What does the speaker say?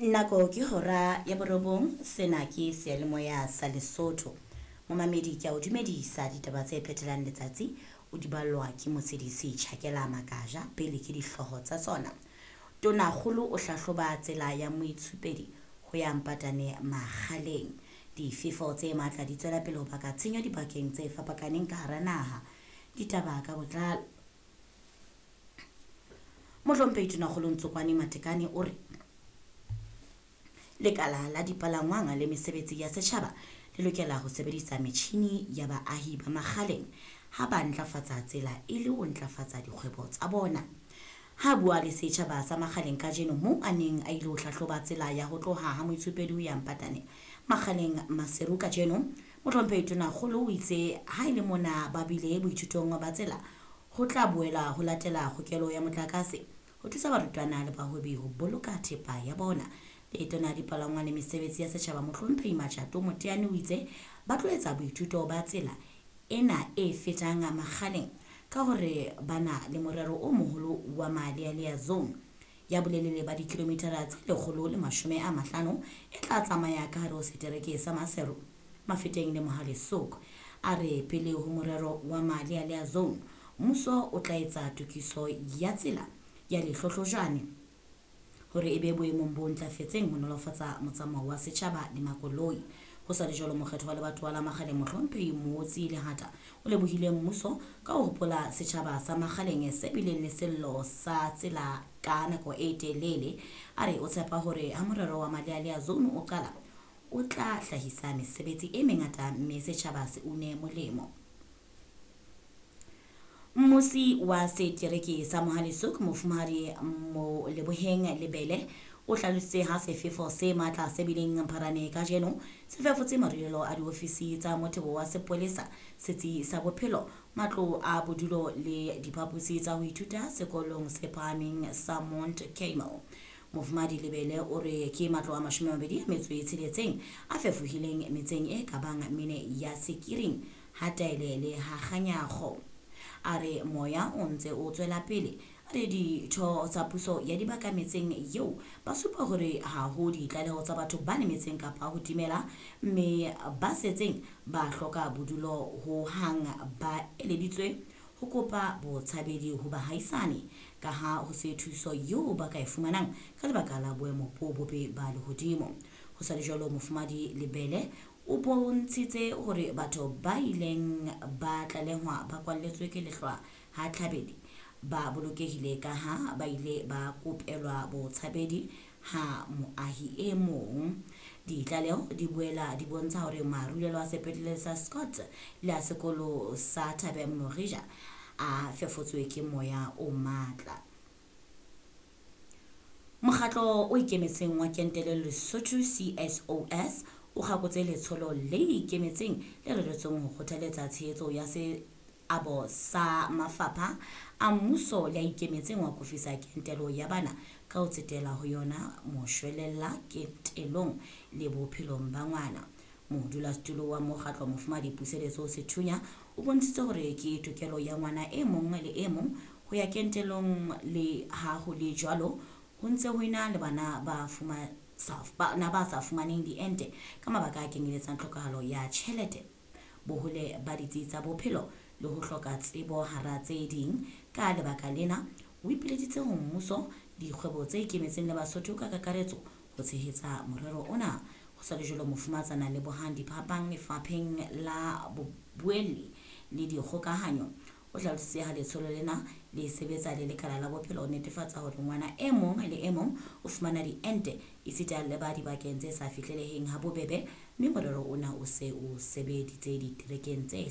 Nako ke hora ya borobong, sena ke seyalemoya sa Lesotho. Momamedi ke a o dumedisa ditaba tse phethelang letsatsi o di ballwa ke motshedisi Tjhakela Makaja pele ke dihlooho tsa tsona. Tonakgolo o hlahloba tsela ya moitshupedi ho ya Mpatane Makgaleng. Difefo tse matla di tswela pele ho baka tshenyo dibakeng tse fapakaneng ka hara naha. Ditaba ka botlalo. Mohlomphehi Tonakgolo Ntsokwane Matekane o re lekala la dipalangwang le mesebetsi ya setjhaba le lokela ho sebedisa metjhini ya baahi ba Makgaleng ha ba ntlafatsa tsela e le ho ntlafatsa dikgwebo tsa bona. Ha bua le setjhaba sa Makgaleng kajeno moo a neng a ile ho hlahloba tsela ya ho tloha ha moitshupedi ho ya Mpatane Makgaleng Maseru kajeno, Mohlomphehi Tonakgolo o itse ha e le mona ba bile boithutong ba tsela ho tla boela ho latela kgokelo ya motlakase ho thusa barutwana le bahwebi ho boloka thepa ya bona. Letona la dipalangwang le mesebetsi ya setjhaba Mohlomphehi Matjato Moteane o itse ba tlo etsa boithuto ba tsela ena e fetang Makgaleng ka hore ba na le morero o moholo wa Malealea Zone ya bolelele ba dikilomitara tse 150 e tla tsamaya ka hare ho setereke sa Maseru, Mafeteng le Mohale'shoek. A re pele ho morero wa Malealea Zone, mmuso o tla etsa tokiso ya tsela ya Lehlohlojane hore e be boemong bo ntlafetseng ho nolofatsa motsamao wa setjhaba le makoloi. Ho sa le jwalo, mokgetho wa lebatowa la Makgaleng Mohlomphehi Mootsi Lehata o lebohile mmuso ka ho hopola setjhaba sa Makgaleng se bileng le sello sa tsela ka nako e telele. A re o tshepa hore ha morero wa Malealea Zone o qala o tla hlahisa mesebetsi e mengata mme setjhaba se une molemo. Mmusi wa setereke sa Mohale'shoek Mofumahadi Moleboheng Lebele o hlalositse ha sefefo se matla se bileng Mpharane kajeno se fefotse marulelo a diofisi tsa mothebo wa sepolesa, setsi sa bophelo, matlo a bodulo le diphaposi tsa ho ithuta sekolong se phahameng sa Mount Carmel. Mofumahadi Lebele o re ke matlo a 26 a fefohileng metseng e ka bang mene ya Sekiring, ha Taele le ha Kganyago. A re moya o ntse o tswela pele. A re ditho tsa puso ya dibaka metseng eo ba supa hore ha ho ditlaleho tsa batho ba lemetseng kapa ho timela, mme ba setseng ba hloka bodulo ho hang ba eleditswe ho kopa botshabedi ho bahaisane ka ha ho se thuso eo ba ka e fumanang ka lebaka la boemo bo bobe ba lehodimo. Ho sa le jwalo, Mofumahadi Lebele o bontshitse hore batho ba ileng ba tlalehwa ba kwalletswe ke lehlwa ha Tlhabedi ba bolokehile ka ha ba ile ba kopelwa botshabedi ha moahi e mong. Ditlaleho di boela di bontsha hore marulelo a sepetlele sa Scott le a sekolo sa Thabeng Morija a fefotswe ke moya o matla. Mokgatlo o ikemetseng wa kentelo Lesotho CSOS o kgakotse letsholo le ikemetseng le reretsweng ho kgothaletsa tshehetso ya seabo sa mafapha a mmuso le a ikemetseng wa kofisa kentelo ya bana ka ho tsetela ho yona moshwelella kentelong le bophelong ba ngwana. Modulasetulo wa mokgatlo Mofumahadi Puseletso Sethunya o bontshitse hore ke tokelo ya ngwana e mong le e mong ho ya kentelong, le ha ho le jwalo ho ntse ho ena le bana ba bana ba sa fumaneng diente ka mabaka a kenyeletsang tlhokahalo ya tjhelete, bohole ba ditsi tsa bophelo le ho hloka tsebo hara tse ding. Ka lebaka lena o ipileditse ho mmuso, dikgwebo tse ikemetseng le Basotho ka kakaretso ho tshehetsa morero ona. Ho sa le jwalo, Mofumatsana Lebohang Diphapang lefapheng la bobuelli le dikgokahanyo o hlalositse ha letsholo lena le sebetsa le lekala la bophelo ho netefatsa hore ngwana e mong le e mong o fumana diente esita le ba dibakeng tse sa fihleleheng ha bobebe, mme morero ona o se o sebeditse diterekeng tse